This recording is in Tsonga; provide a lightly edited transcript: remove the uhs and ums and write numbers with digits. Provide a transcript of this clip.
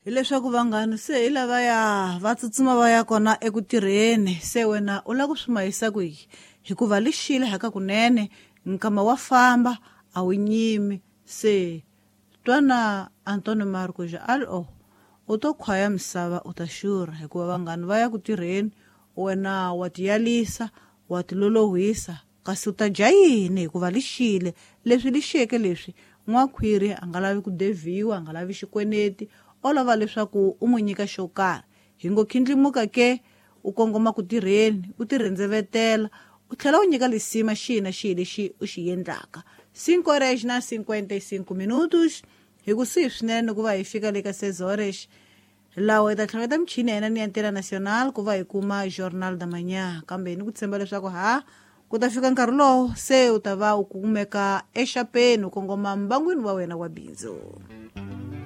Hileswaku vanghani se hi lavaya va tsutsuma va ya kona eku tirheni, se wena u lava ku swi mahisa kwihi? Hikuva lixile haka kunene, nkama wa famba a wu nyimi. Se twana Antonio Marcos a ri o u to khwaya misava u ta xurha, hikuva vanghani va ya ku tirheni, wena wa tiyalisa, wa tilolohisa, kasi u ta dya yini? Hikuva lixile leswi lixeke leswi n'wakhwiri a nga lavi ku devhiwa, a nga lavi xikweneti, o lava leswaku u n'wi nyika xo karhi. Hi ngo khindlimuka ke u kongoma ku tirheni, u tirhendzevetela, u tlhela u nyika lisima xihi na xihi lexi u xi endlaka. 5 horas na 55 minutos, hi kusuhi swinene ku va hi fika le ka 6 horas, lawa hi ta tlhaveta michini ya hina ni ya Antena Nacional ku va hi kuma Jornal da Manhã. Kambe ni ku tshemba leswaku ha ku ta fika nkarhi lowo se u ta va u kumeka exapeni, u kongoma mbangwini wa wena wa bindzu.